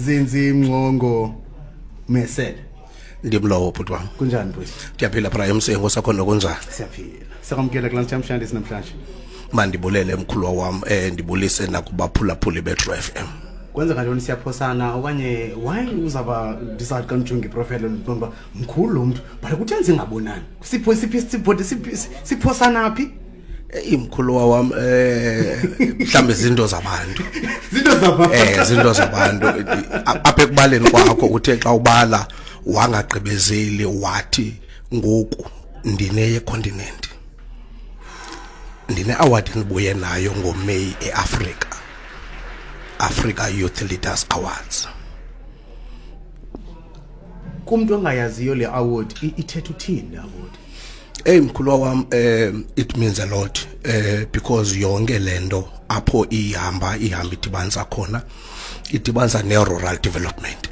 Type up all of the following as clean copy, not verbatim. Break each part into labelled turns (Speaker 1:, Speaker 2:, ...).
Speaker 1: Zinzi Mngcongo Mesele.
Speaker 2: Ndimlowo bhuti wam.
Speaker 1: Kunjani bhuti?
Speaker 2: Ndiyaphila bra emsengo sakho nokunjani?
Speaker 1: Siyaphila. Siyakwamkela kulaa namhlanje namhlanje.
Speaker 2: Mandibulele mkhulwa wam ndibulise nakubaphulaphuli beTru FM.
Speaker 1: Kwenzeka ntoni, siyaphosana okanye why uzawuba ndizawuthi xa ndijonge iprofile ndiqonda uba mkhulu lo mntu, but kutheni singabonani? Sipho siphi sipho siphosana phi?
Speaker 2: Eyi mkhuluwa wam, mhlawumbe zinto zabantu.
Speaker 1: Zinto zabantu.
Speaker 2: Zinto zabantu. Apha ekubaleni kwakho uthe xa ubala wangagqibezeli wathi ngoku ndineye continent. Ndine award endibuye nayo ngoMeyi eAfrika. Africa Youth Leaders Awards.
Speaker 1: Kumntu ongayaziyo le award, ithetha uthini le award?
Speaker 2: Hey mkhuluwa wam, it means a lot because yonke lento apho ihamba ihamba idibanisa khona, idibanisa ne-rural development.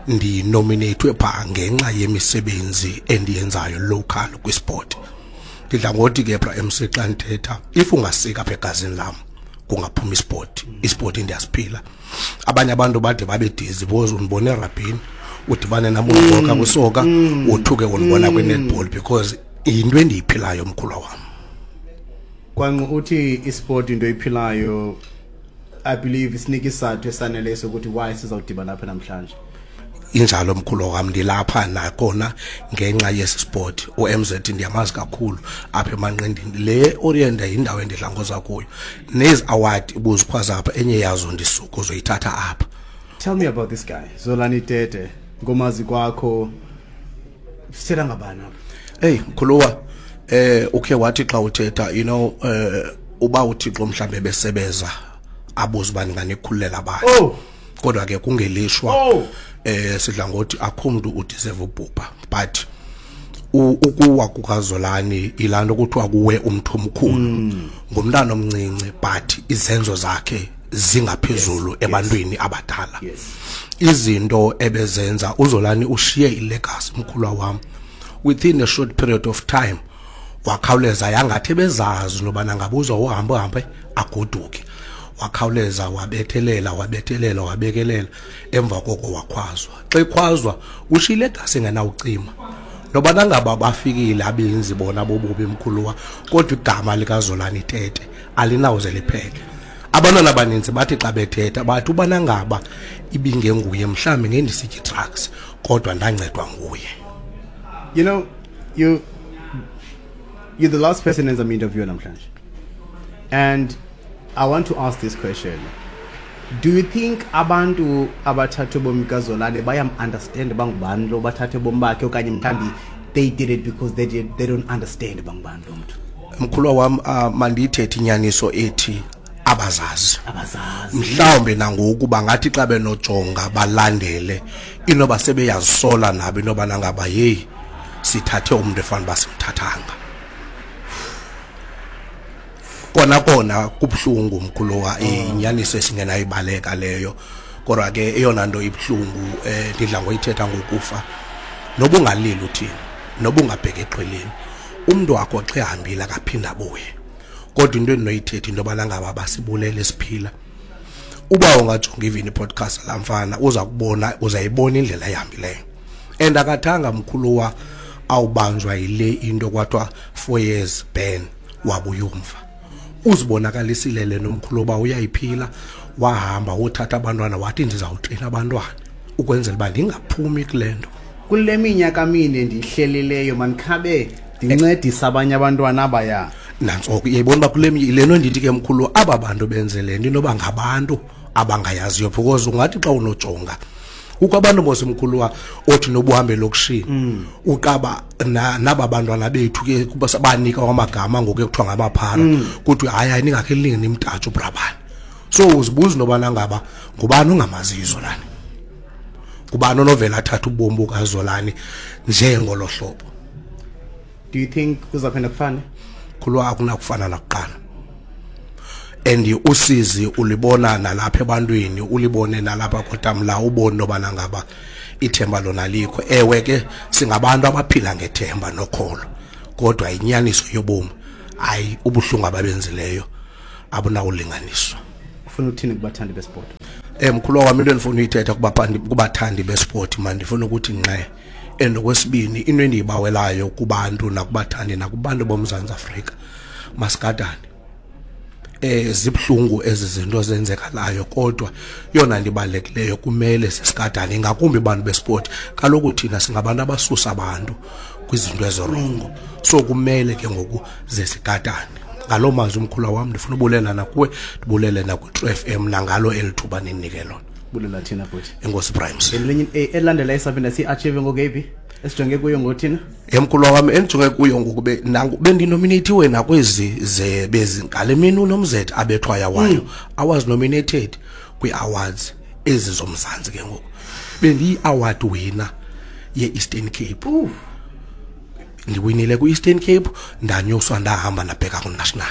Speaker 2: Ndinominatwe pha ngenxa yemisebenzi endiyenzayo local kwisport. Ndidla ngothi ke bra MC xa ndithetha, if ungasika apha egazini lam kungaphuma isport, isport ndiyasiphila. Abanye abantu bade babe dizzy because undibone erabhini, udibane nam undiboka kwisoka, wothuke undibona kwi-netball because yinto endiyiphilayo mkhulwa wam.
Speaker 1: Kwanqu uthi isport into oyiphilayo, I believe isinika isizathu esaneleyo sokuthi why sizawudibana apha namhlanje.
Speaker 2: Injalo mkhulu wam, ndilapha nakhona ngenxa yesi sport. UMZ ndiyamazi kakhulu apha emanqindini. Le Orient yindawo endidla ngoza kuyo. Nezi award ubuzikhwaza apha, enye yazo ndisuka uzoyithatha apha.
Speaker 1: Tell me about this guy, Zolani Tete. Ngomazi kwakho, sithetha ngabani apha?
Speaker 2: Hey mkhuluwa, ukhe wathi xa uthetha, uba uThixo mhlambe besebeza abuze uba ndinganikhululela abantu. Kodwa ke kungelishwa, sidla ngothi akho mntu udeserve ubhubha, but ukuwa kukaZolani ilaa nto kuthiwa kuwe umntu omkhulu, ngumntana omncinci, but izenzo zakhe zingaphezulu ebantwini abadala. Izinto ebezenza uZolani, ushiye ilegacy mkhulwa wam. Within a short period of time wakhawuleza yangathi ebezazi nobana ngabe uhambe uhambe agoduke. Wakhawuleza wabethelela, wabethelela, wabekelela, emva koko wakhwazwa. Xa ekhwazwa ushiye ilegacy engenawucima. Nobana ngaba bafikile abenzi bona bobubi mkhuluwa, kodwa igama likaZolani Tete alinawuze liphele. Abantwana abaninzi bathi xa bethetha bathi ubana ngaba ibingenguye mhlawumbi ngendisitya drugs, kodwa ndancedwa nguye.
Speaker 1: You know, you're the last person as I'm interviewing namhlanje. And I want to ask this question. Do you think abantu abathathe ubomi kaZolani bayam understand bangubani lo bathathe ubomi bakhe, okanye mhlawumbi they did it because they don't understand bangubani lo mntu?
Speaker 2: Mkhulwa wam, mandiyithethe inyaniso ethi abazazi.
Speaker 1: Abazazi.
Speaker 2: Mhlawumbe nangoku bangathi xa benojonga balandele inoba sebeyazisola nabo inoba nangaba hey sithathe umuntu efana uba simthathanga. Kona kona kubuhlungu mkhuluwa, inyaniso esingenayibaleka leyo. Kodwa ke eyona nto ibuhlungu, ndidla ngoyithetha ngokufa, noba ungalili uthini, noba ungabheka exhweleni, umntu wakho xa ehambile akaphinda abuye. Kodwa into endinoyithetha into yobana ngaba basibulele siphila. Uba ungajonga even i-podcast laa mfana, uza kubona, uzayibona indlela ehambileyo. And akathanga mkhuluwa awubanjwa yile into kwathiwa 4 years ban, wabuya umva. Uzibonakalisile le nomkhulu uba uyayiphila, wahamba wothatha abantwana wathi ndizawutrina abantwana ukwenzela uba ndingaphumi kule nto.
Speaker 1: Kule minyaka mine ndiyihlelileyo mandikhabe ndincedisa abanye abantwana abaya.
Speaker 2: Nantso ke uyayibona uba kule le nto ndithi ke mkhulu, aba bantu benze le nto inoba ngabantu abangayaziyo, because ungathi xa unojonga kukho abantu mos mkhuluwa othi noba uhambe elokishini uqaba naba bantwana bethu ke kuba banika amagama ngoku ekuthiwa ngamaphara, kuthiwe hayi hayi ningakhe linge nimtatshe ubrabani. So uzibuza intobana ngaba ngubani ongamaziyo uZolani, ngubani onovela athathe ubomi bukaZolani njengolo hlobo.
Speaker 1: Do you think kuzawuphinda kufane?
Speaker 2: Khulwa akunakufana nakuqala. And usizi ulibona nalapha ebantwini, ulibone nalapha kotamla, ubone nobana ngaba ithemba lona likho. Ewe ke singabantu abaphila ngethemba nokholo, kodwa inyaniso yobomi hayi ubuhlungu ababenzileyo abunawulinganiswa.
Speaker 1: Ufuna uthini kubathandi besport?
Speaker 2: Mkhulu wami, into endifuna uyithetha kubathandi besport, man, ndifuna ukuthi nqe, and okwesibini, into endiyibawelayo kubantu nakubathandi nakubantu boMzantsi Afrika, masigadane. Zibhlungu ezi zinto zenzekalayo, kodwa yona nto ibalulekileyo kumele sisigadane, ingakumbi abantu besport. Kaloku thina singabantu abasusa abantu kwizinto ezi-wrong, so kumele ke ngoku ze sigadane. Ngaloo mazwi, umkhula wam, ndifuna ubulela nakuwe, ndibulele nakwi-True FM nangalo eli thuba nindinike lona.
Speaker 1: Bulela thina, bhuti.
Speaker 2: Enkosi, Primes.
Speaker 1: Elinye elandela esaphinda siyi-achieve ngokeyiphi esijonge kuyo ngothina?
Speaker 2: Emkhulu wami, endijonge kuyo ngoku, bendinominatiwe nakwezi ze bezi ngale mini uNomzet abethwaya wayo. I was nominated kwii-awards ezi zoMzantsi. Ke ngoku bendiyi-award winner ye-Eastern Cape. Ndiwinile kwi-Eastern Cape, ndanyuswa, ndahamba ndabheka ku-national.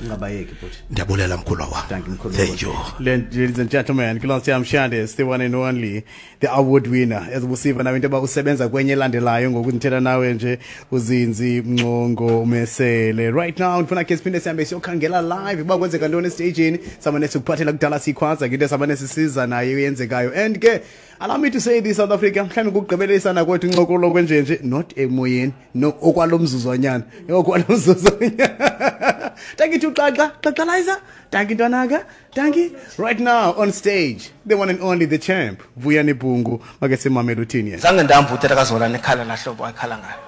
Speaker 1: Ungabayeki, bhuti.
Speaker 2: Ndiyabulela, mkhulu wam.
Speaker 1: Thank you, mkhulu.
Speaker 2: Thank you.
Speaker 1: Ladies and gentlemen, Kulasi Shandes, the one and only, the award winner. As busiva nawe into yoba usebenza kwenye elandelayo ngoku ndithetha nawe nje, uZinzi Mngcongo Mesele. Right now ndifuna ke siphinde sihambe siyokhangela live uba kwenzeka ntoni estagini. Samane sikuphathela kudala sikhwaza ngento samane sisiza nayo eyenzekayo. And ke allow me to say this, South Africa, mhlawumbi kugqibelisana kwethu incokolo kwenjenje, not emoyeni, no, okwalo mzuzwanyana, okwalo mzuzwanyana. Thank you to Xaxa, Xaxalizer. Thank you, Ntwanaka. Thank you. Right now on stage, the one and only, the champ, Vuyani Bungu. Make simamele uthini yena.
Speaker 3: Zange ndamva utata kaZolani ekhala lahlobo akhala ngayo,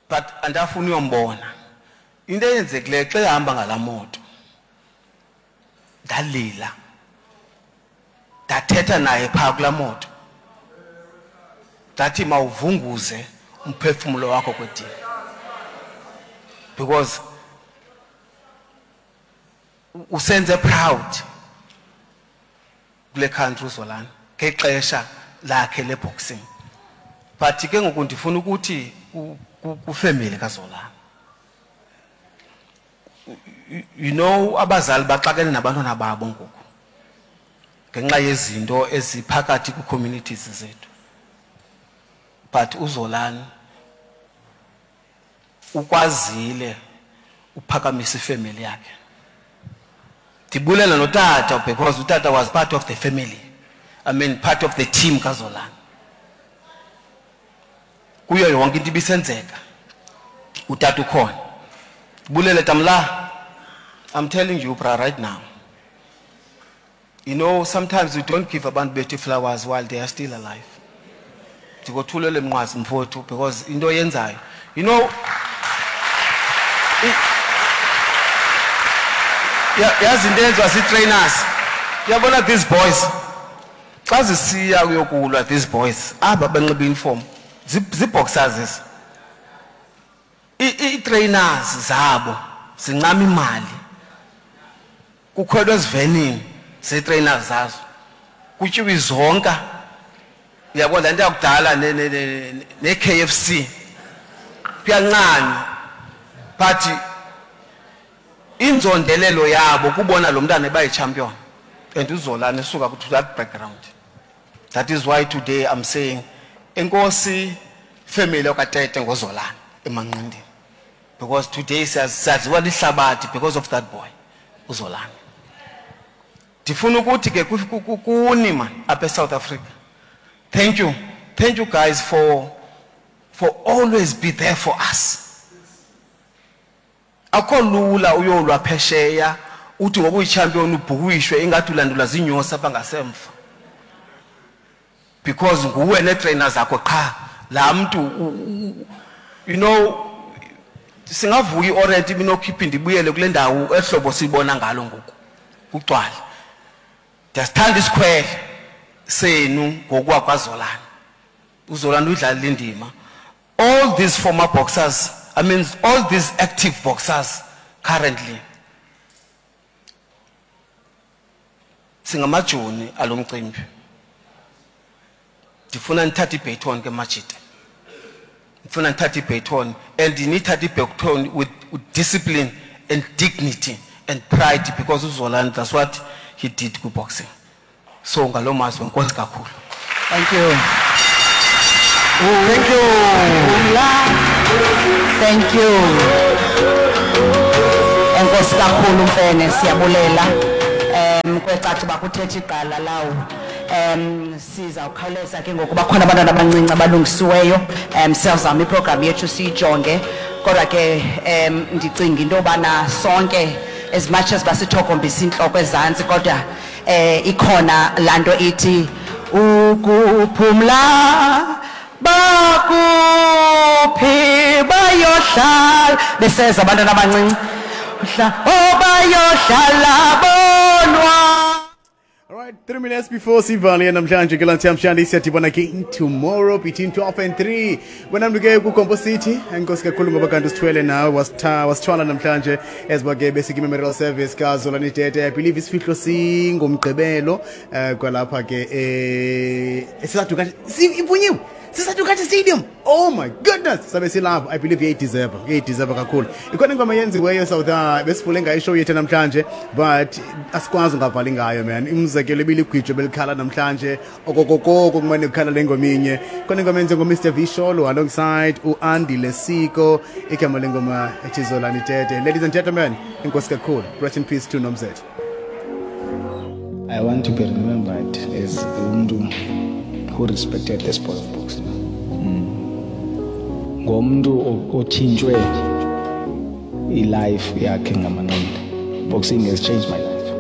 Speaker 3: but andafuna uyombona. Into eyenzekileyo xa ehamba ngalaa moto, ndalila, ndathetha naye phaa kulaa moto, ndathi mawuvunguze umphefumulo wakho kwedini, because usenze proud kule country uZolani ngexesha lakhe leboxing. But ke ngoku ndifuna ukuthi kwifamily kaZolani, abazali baxakene nabantwana babo ngoku ngenxa yezinto eziphakathi kwi-communities zethu, but uZolani ukwazile uphakamisa ifamily yakhe. Ndibulela notata, because utata was part of the family, I mean, part of the team kaZolani. Kuyo yonke into ibisenzeka, utata ukhona. Bulele tamla. I'm telling you, bra, right now, sometimes we don't give abantu bethu flowers while they are still alive. Ndikothulele mnqwazi, mfowethu, because into oyenzayo, yazi into eyenziwa zii-trainers. Uyabona these boys xa zisiya kuyokulwa, these boys aba banxiba uniform, zii-boxers ezi, ii-trainers zabo zincama imali, kukhwelwa ezivenini zee-trainers zazo, kutyiwa izonka, uyabona le nto yakudala, ne-KFC, kuyancanywa. But inzondelelo yabo kubona lo mntana eba yi-champion, and uZolani esuka to that background. That is why today I'm saying enkosi, family okaTete, ngoZolani emanqindini, because today siyaziwa lihlabathi because of that boy uZolani. Ndifuna ukuthi ke kuni man apha eSouth Africa, thank you, thank you guys for always be there for us. Akho lula uyolwa phesheya, uthi ngoba uyichampion ubhukishwe ingathi ulandulwa zinyosi apha ngasemva, because nguwe neetrainer zakho qha. Laa mntu singavuka i-Orient ibinokhipha ibuyele kule ndawo ehlobo siyibona ngalo ngoku kugcwale. Ndiyasithanda isikhwele senu ngokuwa kwaZolani. UZolani uyidlalile indima. All these former boxers, I mean, all these active boxers currently, singamajoni alo mcimbi. Ndifuna nithathe ibaton ke, majita. Ndifuna nithathe ibaton, and nithathe ibaton with discipline and dignity and pride, because uZolani, that's what he did kwi-boxing. So ngaloo mazwi, enkosi kakhulu.
Speaker 4: Thank you.
Speaker 3: Thank you.
Speaker 4: Thank you. Enkosi kakhulu, Mfene, siyabulela. Kwecaca uba kuthetha igqala lawo. Sizawukhawuleza ke ngokuba khona abantwana abancinci abalungisiweyo. Siyazama iprogram yethu siyijonge, kodwa ke ndicinga into yobana sonke, as much as basithokombisa intloko ezantsi, kodwa ikhona laa nto ithi ukuphumla bakuphi bayohlala beseza abantwana abancinci. Oh, bayohlala bonwa.
Speaker 1: All right, 3 minutes before sivale namhlanje ke lanthi namhlanje, siyadibana again tomorrow between 12 and 3. Wena mntu ke kuGompo City, enkosi kakhulu ngoba kanti usithwele nawe, wasithwala namhlanje eziba ke basic memorial service kaZolani Tete. I believe isifihlo singomgqibelo kwalapha ke eSisa Dukashe, ivunyiwe Sisa Dukashe Stadium. Oh my goodness, sabe silapho. I believe iyayideserve, iyayideserve kakhulu. Ikhona ingoma yenziweyo South besivule ngayo ishow yethu namhlanje, but asikwazi ungavali ngayo, man. Umzekelo ibiligwijo belikhala namhlanje okokokoko kumane kukhala le ngoma inye. Khona ingoma yenziwe nguMr Visholo alongside uAndile Siko, igama lengoma ethi Zolani Tete. Ladies and gentlemen, enkosi kakhulu. Rest in peace to Nomzet.
Speaker 5: I want to be remembered as umuntu who respected the sport of boxing. Ngomntu otshintshwe ilife yakhe ngamanqindi. Boxing has changed my life.